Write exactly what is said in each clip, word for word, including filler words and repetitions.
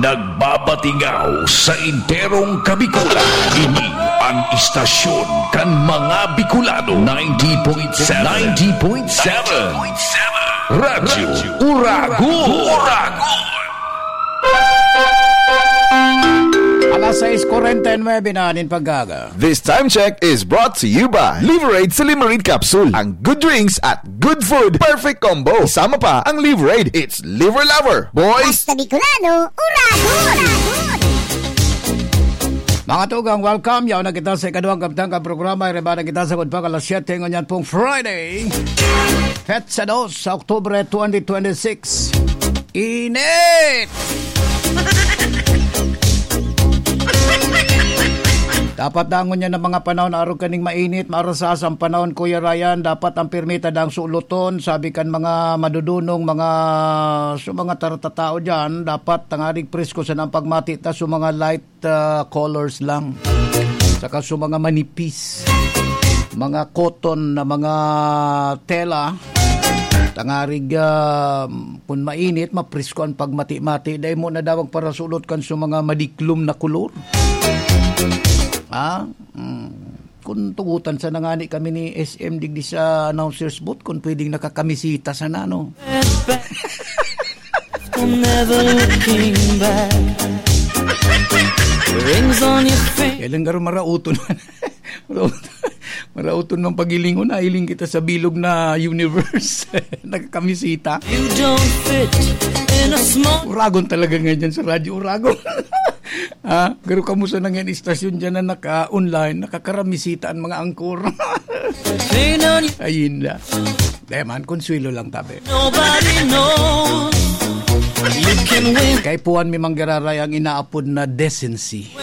Nagbabatingaw sa enterong Kabikulan. Ini ang istasyon kan mga Bicolano, ninety point seven. ninety point seven. Radyo Uragon. Alas sais kuwarenta y nuebe na nin pagkaga. This time check is brought to you by Liverade Silimarin Capsule. Ang good drinks at good food, perfect combo. Isama pa ang Liverade. It's Liver Lover. Boys! Basta Bicolano, uragon! Mga tugang, welcome. Yaon na kita sa ikaduhang kabtang ka programa. Iribada kita sa Good Pag alas siyete ngunyan pong Friday. Petsa dos sa Oktubre twenty twenty-six. Init! Dapat dangon niya ng mga panahon, arog kaning mainit, marasas ang panahon, Kuya Ryan. Dapat ang pirmita dang suloton, sabi kan mga madudunong, mga, so mga taratataw dyan, dapat tangarig presko sa nang pagmati ta, so mga light ah, colors lang. Saka sa mga manipis, mga cotton na mga tela, tangarig, ah, kun mainit, maprisko ang pagmati-mati. Dai mo na daw magparasulot kan sa mga madiklom na kulor. Ha? Hmm. Kung tugutan sa nangani kami ni S M digdi sa announcer's booth, kung pwedeng nakakamisita sa nano. Never looking back. Rings on your finger. Kailan garo marauton man? Marauton, marauton mang pagilingon, nailing kita sa bilog na universe. Nakakamisita. You don't fit in a small Uragon talaga ngayon dyan sa Radyo Uragon. Ha? Pero kamusta na ngayon istasyon dyan na naka-online, nakakaramisita ang mga angkor? Ayun na. Di man, konsuelo lang tabi. Nobody knows. You can win. Kay puan mi manggiraray ang inaapod na decency.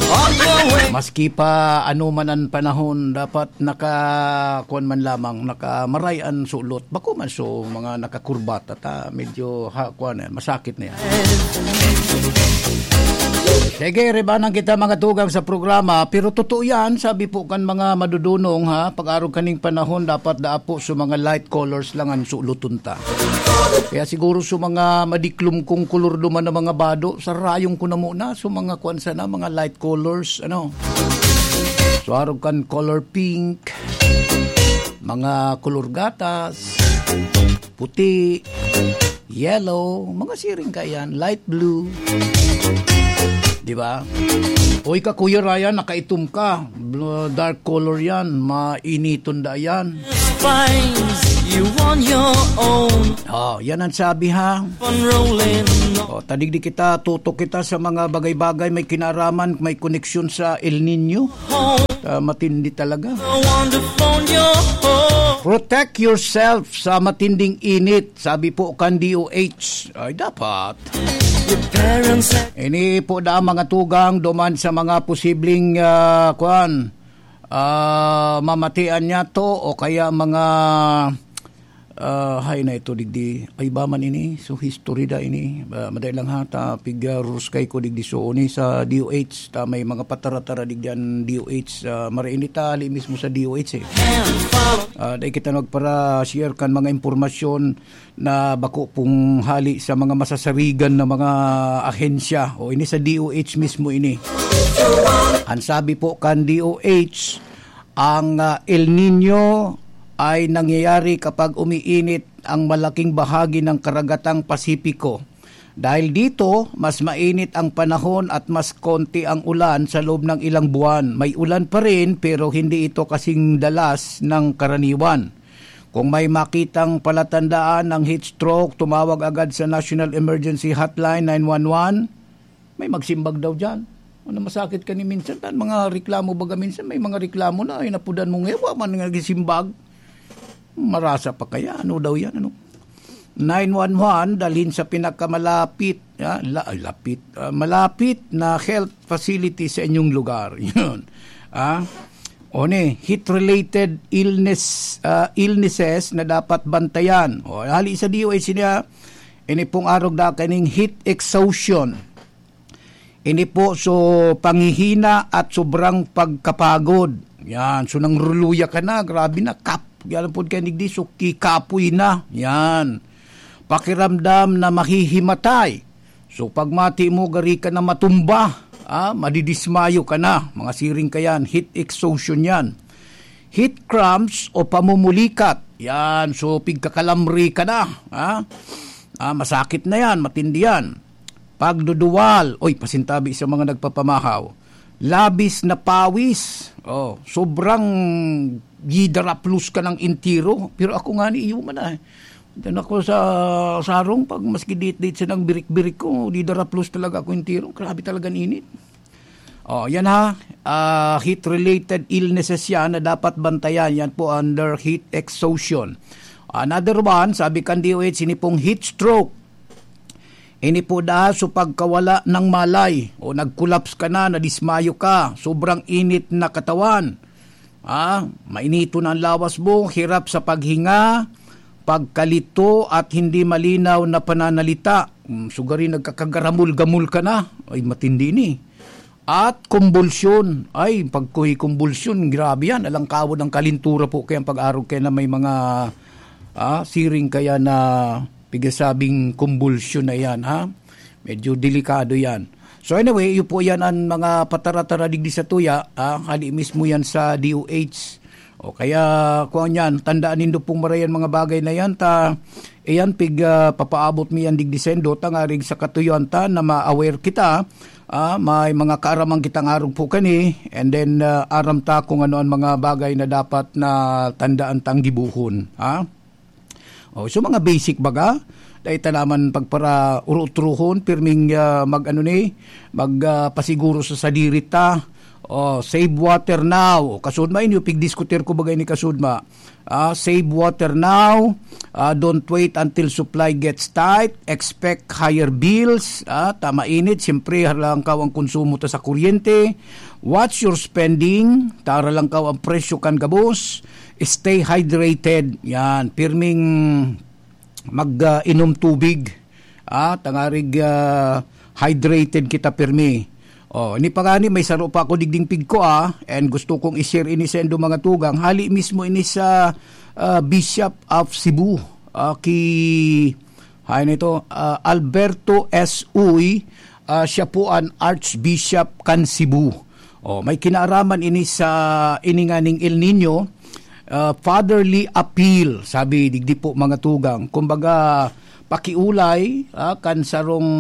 All the way. Maski pa ano man ang panahon, dapat naka, kuwan man lamang, nakamaray ang sulot. Bako man so mga nakakurbata ta, medyo ha, kuwan na yan, masakit na yan. Sige, ribanan kita mga tugang sa programa, pero totoo yan, sabi po kan mga madudunong ha, pag-arog kaning panahon, dapat daapo sa mga light colors lang ang suluton ta. Kaya siguro sa mga madiklom kong kulor duman na mga bado, sa rayong ko na muna, sa mga kwan sana, mga light colors, ano. So, arog kan color pink, mga kulor gatas, puti, yellow, mga siring ka yan, light blue. Di ba? Uy ka, Kuya Ryan, nakaitom ka. Bl-, dark color yan. Mainiton da yan. Finds you on your own. Oh, yan ang sabi ha. Unrolling. Oh, tadigdi kita, tutok kita sa mga bagay-bagay may kinaraman, may koneksyon sa El Nino. Home. Ah, matindi talaga. The wonder phone your home. Protect yourself sa matinding init, sabi po kan D O H. Ay, dapat. Your parents have Ini po da mga tugang duman sa mga posibleng, ah, kuwan, ah, mamatian niya to o kaya mga, ah, hay na ito digdi. Ay, ba man ini? So, history da ini. Ah, maday lang ha, ta, pig, ah, ruskay ko digdi. So, ni sa D O H, ta may mga patara-tara digdi an D O H. Ah, marainit ta, hali mismo sa D O H eh. Ah, dai kita nagpara-share kan mga impormasyon na bako pong hali sa mga masasarigan na mga ahensya. O, ini sa D O H mismo ini. Ang sabi po kan D O H, ang, ah, El Nino ay nangyayari kapag umiinit ang malaking bahagi ng karagatang Pasipiko. Dahil dito, mas mainit ang panahon at mas konti ang ulan sa loob ng ilang buwan. May ulan pa rin, pero hindi ito kasing dalas ng karaniwan. Kung may makitang palatandaan ng heat stroke, tumawag agad sa National Emergency Hotline nine one one. May magsimbag daw diyan. Ano, masakit ka ni minsan, tan mga reklamo baga minsan, may mga reklamo na, ay napudan mo ngayon, wa man nga gisimbag. Marasa pa kaya? Ano daw yan? Ano? Nine one one, dalhin sa pinakamalapit, ah, la-, ay, lapit, ah, malapit na health facility sa inyong lugar. Yun. Ah, o ni, heat-related illness, ah, illnesses na dapat bantayan. O, hali sa D O H niya, ini pong arog da kaning heat exhaustion. Ini po, so, panghihina at sobrang pagkapagod. Yan. So, nangruluya ka na, grabe na, kap. Yan po kayo nigdi, so, kikapoy na. Yan. Pakiramdam na mahihimatay. So, pag mati mo, gari ka na matumba, ah, madidismayo ka na. Mga siring ka yan, heat exhaustion yan. Heat cramps o pamumulikat. Yan, so pigkakalamri ka na. Ha? Ah, masakit na yan, matindi yan. Pagduduwal, oy, pasintabi sa mga nagpapamahaw. Labis na pawis. Oh, sobrang gidaraplos ka ng intiro. Pero ako nga ni iyo man ah. Diyan ako sa sarong, pag maski dit-dit sa nang birik-birik ko, di daraplos talaga ako intiro. Grabe talaga ang init. Oh, yan ha. Ah, heat-related illnesses yan na dapat bantayan. Yan po under heat exhaustion. Another one, sabi kan D O H, ini pong heat stroke. Ini po da so pagkawala ng malay o nag-collapse ka na, nadismayo ka, sobrang init na katawan. Ah, mainiton ang lawas mo, hirap sa paghinga, pagkalito at hindi malinaw na pananalita. Mm, sugari nagkakagaramol-gamol ka na. Ay, matindi ni. At kumbulsyon. Ay, pagkuhi kumbulsyon, grabe yan. Alangkawon ang kalintura po kaya ang pag-arog kaya na may mga ah, siring kaya na pigasabing kumbulsyon na yan, ha? Medyo delikado yan. So anyway, iyo po yan ang mga patara-tara digdi sa tuya, ah, hali mismo yan sa D O H. O kaya, kung yan, tandaan nindo pong marayan mga bagay na yan, ta, iyan, pig, ah, papaabot mi yan digdi sendo, tangarig sa katuyoan ta na ma-aware kita, ah, may mga kaaraman kitang arog po kani, and then, ah, aram ta kung ano ang mga bagay na dapat na tandaan tang gibuhon, ha? O, so mga basic baga, dahil ta naman pagpara-urutrohon, pirming, ah, mag-ano ni, mag, ah, pasiguro sa sadiri ta. O, save water now. Kasudma inyo, pigdiskutir ko bagay ni kasudma. Ah, save water now. Ah, don't wait until supply gets tight. Expect higher bills. Ah, tama init, siyempre, harlangkaw ang konsumo ta sa kuryente. Watch your spending. Tara lang kaw ang presyo kan gabos. Stay hydrated. Yan, pirming mag, ah, inom tubig. Ah, tangarig, ah, hydrated kita pirmi. Oh, ini pa gani, may saro pa ako digding pigko, ah, and gusto kong i-share ini sa indo mga tugang. Hali mismo ini sa, ah, Bishop of Cebu. Ah, ki, hay nito, ah, Alberto S. Uy, ah, siya po an Archbishop kan Cebu. Oh, may kinaaraman ini sa ini nganing El Nino, ah, fatherly appeal, sabi digdi po mga tugang. Kumbaga, pakiulay, ah, kan sarong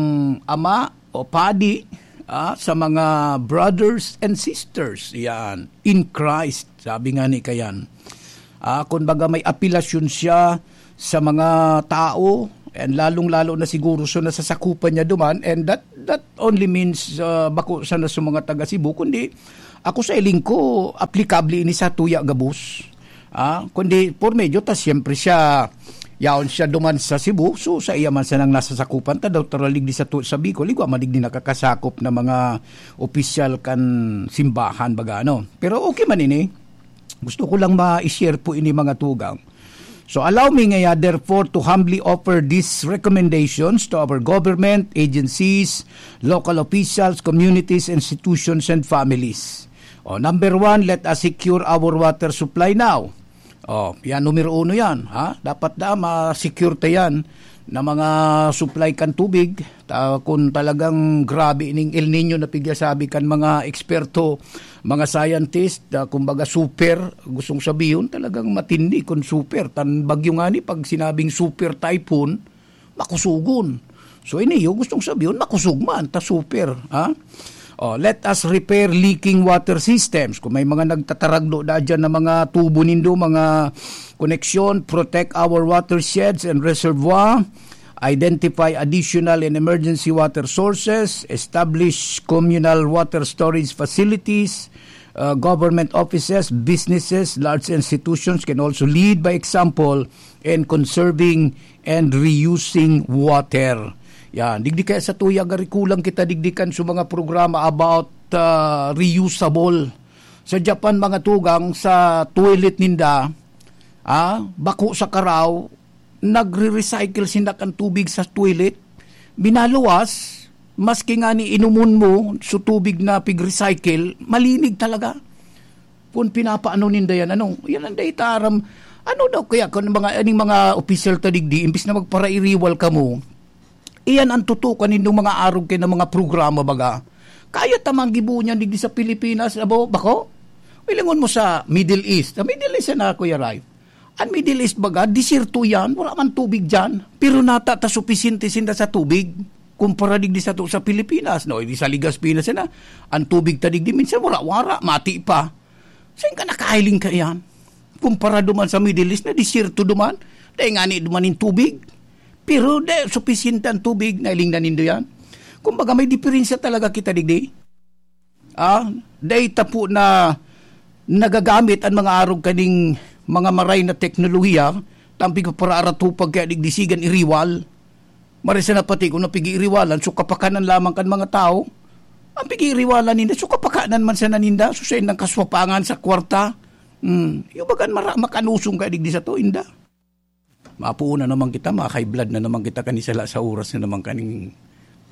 ama o padi, ah, sa mga brothers and sisters, yan, in Christ, sabi nga ni kayan. Ah, kumbaga may apelasyon siya sa mga tao, and lalong-lalo na siguro sa nasasakupan niya duman, and that that only means, ah, bako sana sa mga taga Cebu, kundi ako sa iling ko, aplikable ini sa tuya gabos. Ah, kundi por medyo ta siyempre siya, yaon siya duman sa Cebu, so sa iya man sanang nasasakupan ta daw taralig di sa tu-, sa Bicol, igwa man digdi nakakasakop na mga opisyal kan simbahan baga, ano. Pero okay man ini. Gusto ko lang ma-share po ini, mga tugang. So allow me ngaya therefore to humbly offer these recommendations to our government, agencies, local officials, communities, institutions, and families. O, number one, let us secure our water supply now. O, yan, numero uno yan, ha? Dapat da ma-secure ta yan na mga supply kan tubig. Ta, kung talagang grabe ning El Nino na pigyasabi kan mga eksperto, mga scientist, ah, kumbaga super, gustong sabihon talagang matindi kung super. Tan bagyo nga ni, pag sinabing super typhoon, makusugon. So, ini yung gustong sabihon, makusog man, ta super, ha? Oh, let us repair leaking water systems. Kung may mga nagtataragdo na dyan na mga tubo nindo, mga koneksyon, protect our watersheds and reservoir, identify additional and emergency water sources, establish communal water storage facilities, uh, government offices, businesses, large institutions can also lead by example in conserving and reusing water. Yan. Digdi kaya sa tuya, gari kulang kita digdi kan sa mga programa about, ah, reusable. Sa Japan, mga tugang, sa toilet ninda, ah, bako sa karaw, nagre-recycle sinda kan tubig sa toilet. Binaluwas, maski nga ni inumon mo sa tubig na pig-recycle, malinig talaga. Kung pinapaano ninda yan, ano, yan ang daitaram. Ano daw kaya kung mga, aning mga opisyal ta digdi, imbis na magparairiwal kamo, Iyan ang tutukan nindong mga arog kay na mga programa, baga. Kaya ta man gibo niyan digdi sa Pilipinas, abo, bako? Ilingon mo sa Middle East. Sa Middle East na, Kuya Ray. Ang Middle East, baga, desierto yan. Wala man tubig dyan. Pero nata ta supisyente sinda sa tubig. Kumpara digdi sa to sa Pilipinas, no? Di sa Legazpi na sila. Ang tubig ta digdi, minsan wara-wara, mati pa. Saan ka nakahiling ka yan? Kumpara duman sa Middle East na desierto duman, dahil nga ni duman yung tubig. Pero de, supisyente ang tubig, nailing na nindo yan. Kumbaga, may diferensya talaga kita digdi. Ah, dahil tapo na nagagamit ang mga arog kaning mga maray na teknolohiya, tampig para aratupag kaya digdi sigan iriwal. Marisa na pati kung napig-iiriwalan, so kapakanan lamang kan mga tao. Ang pig-iiriwalan ninda, so kapakanan man sana ninda, so sa indang kaswapangan sa kwarta. Hmm, yung bagan mara-, makanusong ka digdi sa to, inda. Mapuon na naman kita, ma-high blood na naman kita, kanisala sa oras na naman kaning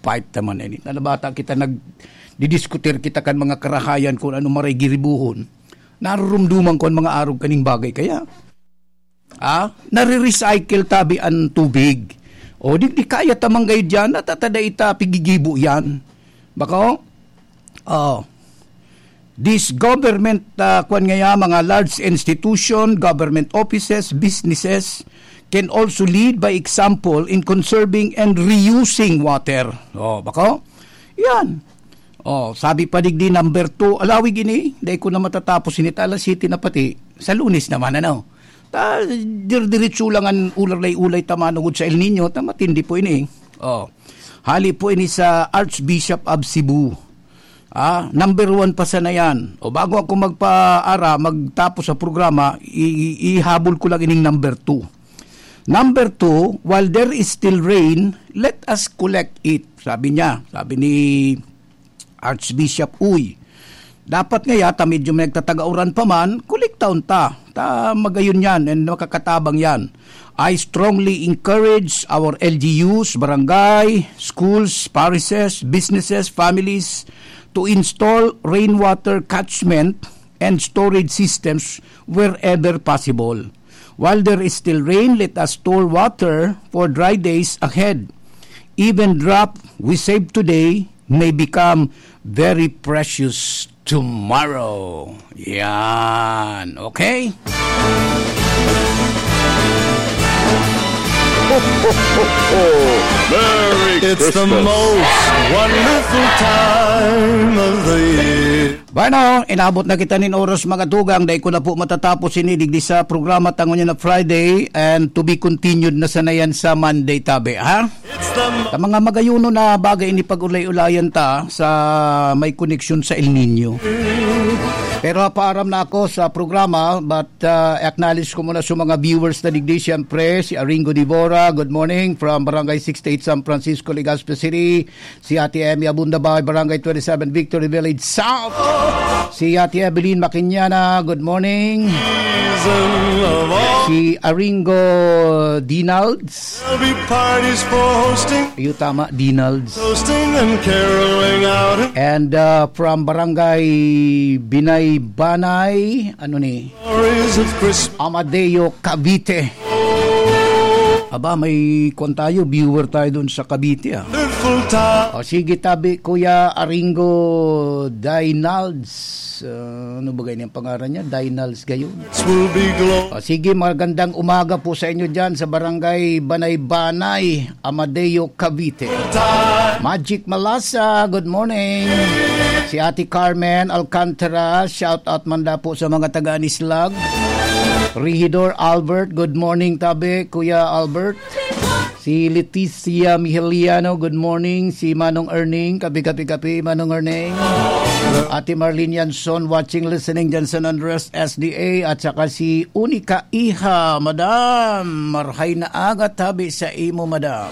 fight naman. Eh, na bata kita, nagdidiskutir kita kan mga karahayan kung ano maray giribuhon. Narurumduman ko ang mga arog kaning bagay. Kaya, ah, nare-recycle tabi ang tubig. O, di, di kaya tamang gayo dyan, natatada ita, pigigibo yan. Bako? Oh. This government, ah, kwan nga yan, mga large institution, government offices, businesses, can also lead by example in conserving and reusing water. Oh, bako? Yan. Oh, sabi pa digdi number two, alawig ini, dai ko na matatapos ini, ta alas siyete na pati. Sa Lunes naman, ano? Ta, dir-diretso lang ang ulay-ulay ta manugod sa El Niño, ta matindi po ini. Oh. Hali po ini sa Archbishop of Cebu. Ah, number one pa sana yan. O bago ako magpaara, magtapos sa programa, i-, i-, ihabol ko lang ining number two. Number two, while there is still rain, let us collect it. Sabi niya, sabi ni Archbishop Uy. Dapat ngaya, ta medyo may nagtatagauran pa man, kolektaon ta. Ta magayon yan and makakatabang yan. I strongly encourage our L G Us, barangay, schools, parishes, businesses, families to install rainwater catchment and storage systems wherever possible. While there is still rain, let us store water for dry days ahead. Even drop we save today may become very precious tomorrow. Yan. Okay? Ho, ho, ho, ho. Merry It's the Christmas. Most wonderful time of the year. Bueno, inabot na kita nin oras, mga tugang. Dai ko na po matatapos ini digdi sa programa ta ngunyan na Friday, and to be continued na sana yan sa Monday, tabi, ha? It's the Sa mga magayuno na bagay, ini pag-ulay-ulayan ta sa may koneksyon sa El Niño. Pero paaram na ako sa programa, but, ah, acknowledge ko muna sa mga viewers na digdi, siyempre, si Aringo Divora, good morning, from Barangay sixty-eight, San Francisco, Legazpi City. Si Ate Emmy Abunda Bay, Barangay twenty-seven, Victory Village South. Si Ate Evelyn Makinyana, good morning. Si Aringo Dinalds. There'll be parties for hosting, Iyo, tama, Dinalds. Toasting and caroling out. And, uh, from Barangay Binay Banay, ano ni? Stories of Christmas. Amadeo, Cavite. Aba, may kwan tayo, viewer tayo doon sa Cavite, ah. Wonderful time. O, sige, tabi, Kuya Aringo Dinalds. Ah, ano ba ganyan pangaran niya? Dinalds gayon. Will be glory. O, sige, magandang umaga po sa inyo dyan sa Barangay Banay-Banay, Amadeo, Cavite. Magic Malasa, good morning. Si Ate Carmen Alcantara, shout out man da po sa mga taga Anislag. Regidor Albert, good morning, tabi, Kuya Albert. Si Leticia Miheliano, good morning. Si Manong Erning, kapi, kapi, kapi, Manong Erning. Ate Marlene Yanson, watching, listening dyan sa San Andres S D A. At saka si Unica Iha, Madam. Marhay na aga, tabi sa imo, Madam.